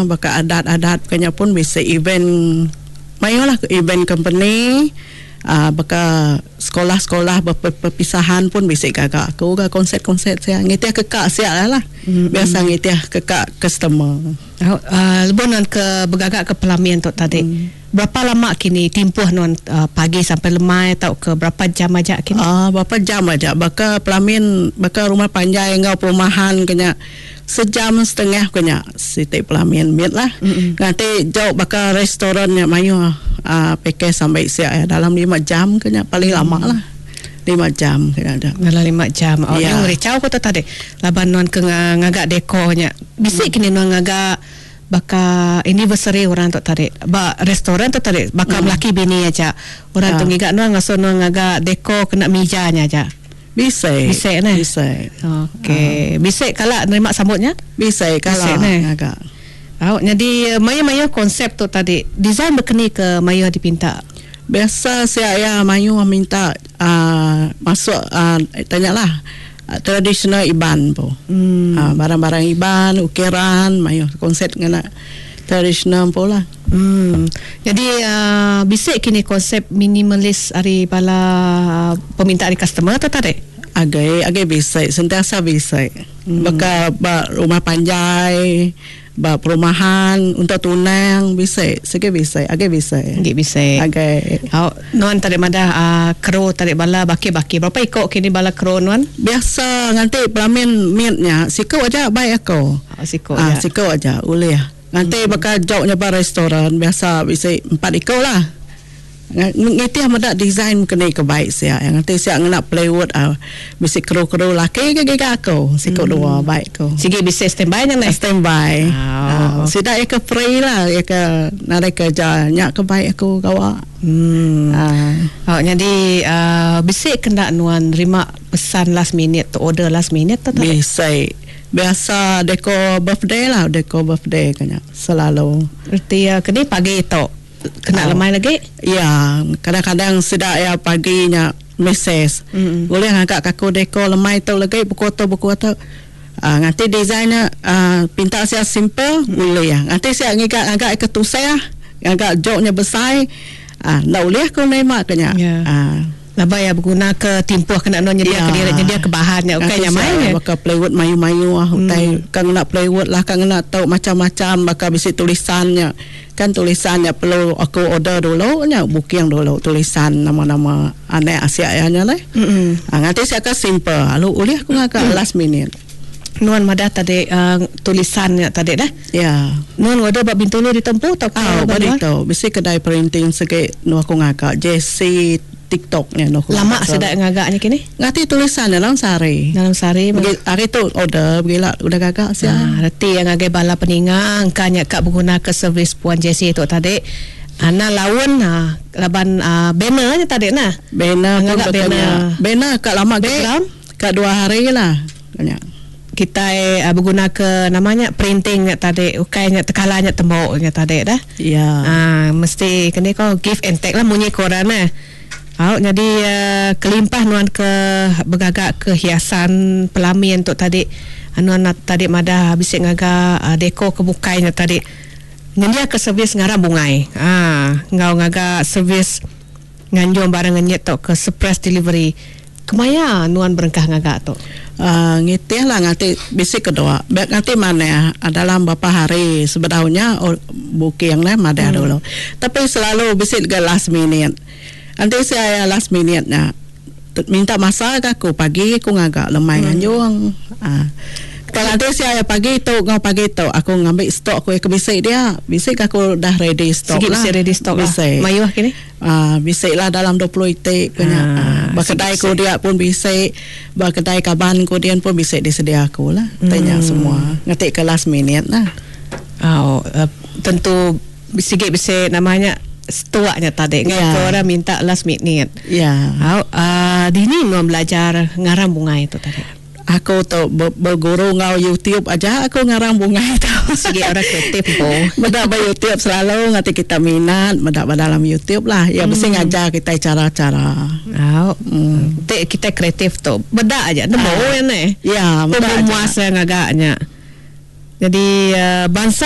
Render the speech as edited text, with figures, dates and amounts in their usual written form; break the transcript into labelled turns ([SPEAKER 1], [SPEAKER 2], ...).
[SPEAKER 1] baka adat-adat kenya pun bisi event mayuh lah event company uhh baka sekolah-sekolah beperpisahan pun bisi gaga aku ga konsert-konsert sia ngitih ke ka sia lah biasa ngitih ke ka customer.
[SPEAKER 2] Uhh lebuh nuan ke begaga ke pelamin tu tadi berapa lama kini timpuh nuan pagi sampai lemai tauka berapa jam aja kini?
[SPEAKER 1] Uhh berapa jam aja baka pelamin baka rumah panjai enggau perumahan ke nya sejam setengah ke nya siti pelamin mit lah. Nganti jauh baka restoran nya mayuh uhh package sampai sia iya dalam lima jam ke nya paling lama lah. Lima jam ke nya aja.
[SPEAKER 2] Dalam lima jam. Oh nyau ngerichau ku tu tadi laban nuan ke ngaga dekor nya. Bisi kini nuan ngaga baka anniversary orang tu tadi ba restoran tu tadi baka melaki bini aja. Orang tu ngiga nuan ngasuh nuan ngaga dekor kena mija nya aja.
[SPEAKER 1] Bisi.
[SPEAKER 2] Bisi neh.
[SPEAKER 1] Bisi.
[SPEAKER 2] Okey. Bisi kala nerima sambut nya?
[SPEAKER 1] Bisi kala ngaga.
[SPEAKER 2] Au nyadi mayuh-mayuh konsep tu tadi design bekeni ke mayuh dipinta.
[SPEAKER 1] Biasa sia iya mayuh minta uhh masuk uhh tanya lah tradisional Iban empu. Uhh barang-barang Iban ukiran mayuh konsep ngena tradisional empu lah.
[SPEAKER 2] Uhh nyadi uhh bisi kini konsep minimalis ari bala peminta ari customer tu tadi?
[SPEAKER 1] Agi agi bisi sentiasa bisi. Baka ba rumah panjai, ba perumahan untuk tunang bisi sigi bisi agi bisi.
[SPEAKER 2] Agi bisi.
[SPEAKER 1] Agi.
[SPEAKER 2] Au nuan tadi madah uhh krew tadi bala baki-baki berapa iko kini bala krew nuan?
[SPEAKER 1] Biasa nganti pelamin mit nya siku aja bai aku.
[SPEAKER 2] Oh siku aja.
[SPEAKER 1] Siku aja ulih. Nganti baka jok nya ba restoran biasa bisi empat iko lah. Ngitih meda design keni ke baik sia. Nganti sia ngena plywood au bisi kru-kru laki ke giga aku siku dua baik ku.
[SPEAKER 2] Sigi bisi standby nya neh.
[SPEAKER 1] Standby. Sida iya ke free lah iya ke nadai kerja nya ke baik aku gawa.
[SPEAKER 2] Au nyadi uhh bisi ke enda nuan nerima pesan last minute tu order last minute tu tadi?
[SPEAKER 1] Bisi. Biasa deko birthday lah deko birthday ke nya selalu.
[SPEAKER 2] Reti iya keni pagi tu. Kena lemai lagi?
[SPEAKER 1] Ya, kadang-kadang sida iya pagi nya mesej. Ulih ngaga ka aku deko lemai tu lagi buku tu buku tu. Aaa nganti design nya aaa pinta sia simple ulih. Nganti sia ngiga ngaga ke tusah, ngaga jok nya besai aaa enda ulih ku nerima ke nya. Aaa.
[SPEAKER 2] Laban iya beguna ke timpuh kena endur nyedia ke diri nyedia ke bahan nya ukai nya mai.
[SPEAKER 1] Baka plywood mayuh-mayuh utai ka ngena plywood lah ka ngena tu macam-macam baka bisi tulisan nya. Kan tulisan nya perlu aku order dulu nya booking dulu tulisan nama-nama anak asia iya nya leh. Nganti sia ka simple lalu ulih aku ngaga last minute.
[SPEAKER 2] Nuan madah tadi tulisan nya tadi deh.
[SPEAKER 1] Ya.
[SPEAKER 2] Nuan order ba Bintulu ditu empu tauka
[SPEAKER 1] ba luar? Ba ditu. Bisi kedai printing sigi endur aku ngaga JC TikTok nya endur aku
[SPEAKER 2] ngaga. Lama sida ngaga nya kini?
[SPEAKER 1] Ngati tulisan nya dalam sehari.
[SPEAKER 2] Dalam sehari.
[SPEAKER 1] Begi hari tu order begila udah gaga sia.
[SPEAKER 2] Ha reti iya ngagai bala peninga engka nya ka beguna ke servis Puan Jessie tu tadi. Ana laun ha laban banner nya tadi nah.
[SPEAKER 1] Banner pun
[SPEAKER 2] Ngaga
[SPEAKER 1] baka nya.
[SPEAKER 2] banner.
[SPEAKER 1] Banner ka lama
[SPEAKER 2] Background.
[SPEAKER 1] Ka dua hari lah nya.
[SPEAKER 2] Kitai beguna ke nama nya printing nya tadi ukai nya tekala nya tembu nya tadi dah.
[SPEAKER 1] Ya.
[SPEAKER 2] Aaa mesti keni ko give and take lah munyi ko orang neh. Au nyadi kelimpah nuan ke begaga ke hiasan pelamin tu tadi nuan tadi madah bisi ngaga deko ke bukai nya tadi nyendia ke servis ngaram bungai aaa enggau ngaga servis nganjung barang ngenyit tauka surprise delivery. Kemaya nuan berengkah ngaga tu?
[SPEAKER 1] Uhh ngitih lah nganti bisi kedua. Ba nganti manah dalam berapa hari sebedau nya booking neh madah dulu. Tapi selalu bisi ga last minute. Enti sia iya last minute nya minta masa ga aku pagi aku ngaga lemai nganjung. Uhh kalau enti sia iya pagi tu enggau pagi tu aku ngambi stok aku ke bisi dia. Bisi ga aku dah ready stok
[SPEAKER 2] lah. Sigi bisi ready stok lah.
[SPEAKER 1] Bisi.
[SPEAKER 2] Mayuh kini?
[SPEAKER 1] Aaa bisi lah dalam 20 iti ku nya. Aaa ba kedai ku dia pun bisi, ba kedai kaban ku dian pun bisi disedia aku lah. Ti nya semua ngeti ke last minute lah.
[SPEAKER 2] Au tentu sigi bisi nama nya stuk nya tadi ngan ke orang minta last minute.
[SPEAKER 1] Ya.
[SPEAKER 2] Au aaa dini nuan belajar ngaram bungai tu tadi?
[SPEAKER 1] Aku tu beguru enggau YouTube aja aku ngarang bungai tu.
[SPEAKER 2] Sigi orang kreatif empu.
[SPEAKER 1] Meda ba YouTube selalu ngati kita minat meda ba dalam YouTube lah. Iya bisi ngajar kitai cara-cara.
[SPEAKER 2] Au. Ti kitai kreatif tu meda aja nemu iya neh.
[SPEAKER 1] Ya meda aja.
[SPEAKER 2] Pemuas iya ngaga nya. Jadi bansa.